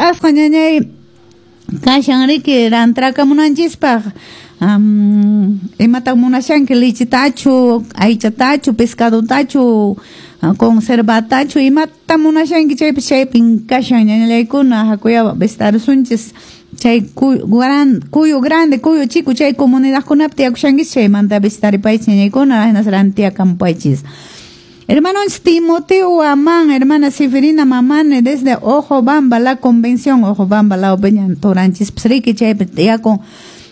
Hunt'asqa ñañay kashan riki rantrakamunanchispaq. Imataq munashanki lichitachu, aychatachu, pescadotachu, conservatachu, imata munashanki chaypis chaypin kashan ñañallaykuna hakuyawa vistarisunchis chay cuyo grande, cuyo chico chay comunidadkunapi tiyakushankichis chaymanta vistaripaychis ñañaykuna hinas rantiakampaychis. Hermanos Timoteo Amán, hermana Seferina Mamane, desde Ojobamba, la convención, Ojobamba, la opeñan toranchis, psriki chaypi tiyakun.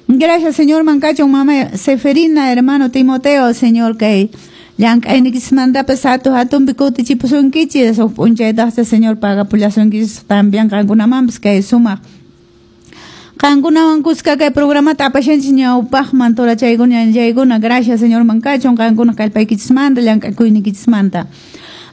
Gracias, Señor Mancacho, mamá Seferina, hermano Timoteo, Señor, que llank'aynikichismantapas hatu hatunpi kutichipusunkichis, huk p'unchaytaqcha Señor pagapullasunkichis también qankunamanpas kay sumaq qankunawan kuska kay programata apashanchis ñawpaqman turachaykuna ñañaykuna. Gracias, Señor Mancacho, qankuna kallpaykichismanta llank'akuynikichismanta.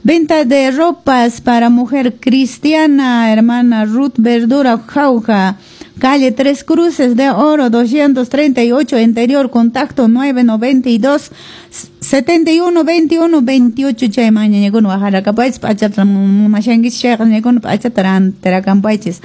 Venta de ropas para mujer cristiana, hermana Ruth Verdura Jauja, calle Tres Cruces de Oro, 238, interior, contacto 992 71 21 28. Chayman ñañaykuna wajarakampaychis, p'achata munashankichis chayqa ñañaykuna p'achata rantirakampaychis.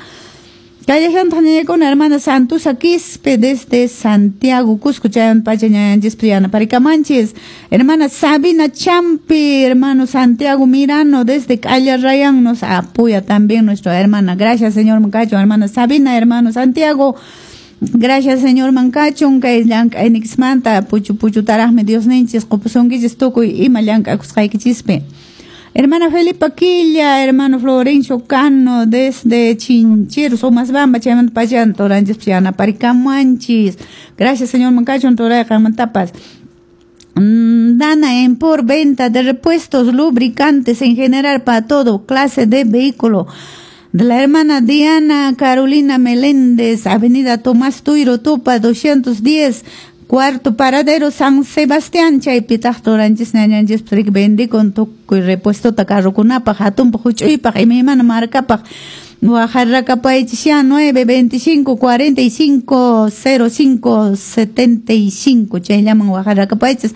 Kallashantaq ñañaykuna hermana Santusa Quispe desde Santiago, Cusco, chayman pacha ñañanchispi yanaparikamanchis. Hermana Sabina Champi, hermano Santiago Mirano desde Calle Rayán nos apoya también nuestra hermana. Gracias, Señor Mancacho, hermana Sabina, hermano Santiago. Gracias, Señor Mancacho, kay llank'aynikismanta puchu puchutaraqmi Dios ninchis qupusunkichis tukuy ima llank'akusqaykichispi. Hermana Felipa Quilla, hermano Florencio Cano, desde Chinchero, Somasbamba, chaymanta pachan, toranchis yanaparicamanchis. Gracias, Señor Mancacho, torayqanmantapas. Dana en por venta de repuestos lubricantes en general para todo clase de vehículo. De la hermana Diana Carolina Meléndez, Avenida Tomás Tuiro Tupa, 210, cuarto paradero San Sebastián, chaypitaq toranchis ñañanchis prik vendikun tukuy repuestota carrokunapaq, hatunpaq, huch'uypaq, imaymana markapaq. Wajarrakapaychis ya 925 45 05 75 chayllaman wajarrakapaychis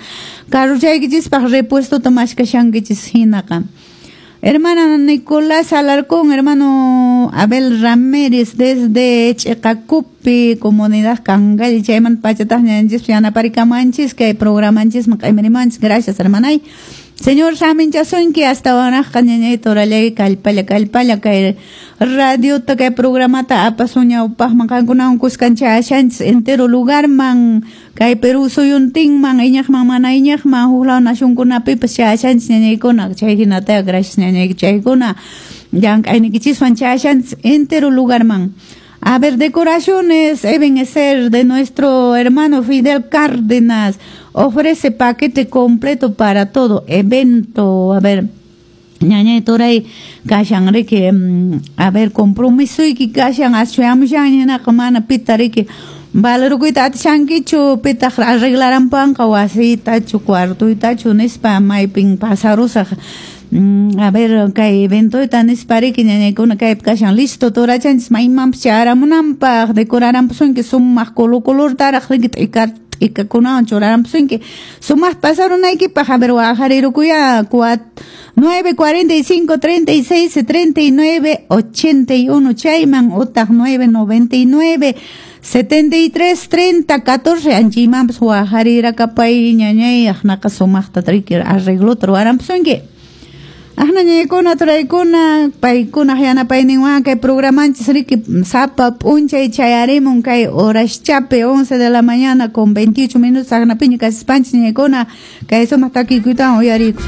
carrochaykichispaq repuestota mashkashankichis hinaqa. Hermana Nicolás Alarcón, hermano Abel Ramírez desde Checacupi, comunidad Cangal, chayman pachataq ñanchis yanaparicamanchis kay programanchis maq'aymarimanchis. Gracias, hermanay. Señor saminchasunki hasta wanaqqa ñañay torallay kallpalla kallpalla kay radiota kay programata apasun ñawpaqman qankunawan kuskan chayashanchis entero lugarman kay Perú suyuntinman iñaqman mana iñaqman huk law nacionkunapipas chayashanchis ñañaykuna chay hinata gracias ñañay chaykuna llank'aynikichiswan chayashanchis entero lugarman. A ver, decoraciones Ebenezer de nuestro hermano Fidel Cárdenas ofrece paquete completo para todo evento. A ver, ñañay toray kashan riki, a ver, compromiso y kashan ashuyamushan hinaqa mana pita riki valorukuyta atishankichu pitaq arreglaranpanqa wasiytachu cuartoytachu nispa maypin pasarusaq. A ver, kay eventoyta nispa riki ñañaykuna kaypi kashan listo torachanchis maymanpas chayaramunanpaq decoraranpusunki sumaq color colortaraq riki t'ikakunawan churaranpusunki sumaq pasarunaykipaq. A ver, waqarirukuya 945 36 39 81 chayman utaq 999 73 30 14 anchaymanpas waqarirakapay ñañay aqnaqa sumaqta riki arreglota ruwaranpusunki. Aqna ñañaykuna turaykuna paykuna yanapayninwan kay programanchis riki sapa p'unchay chayarimun kay horaschapi 11 de la mañana con 28 minutos aqnapiña kasispanchis ñañaykuna kay sumaq takikuytawan uyariykusun.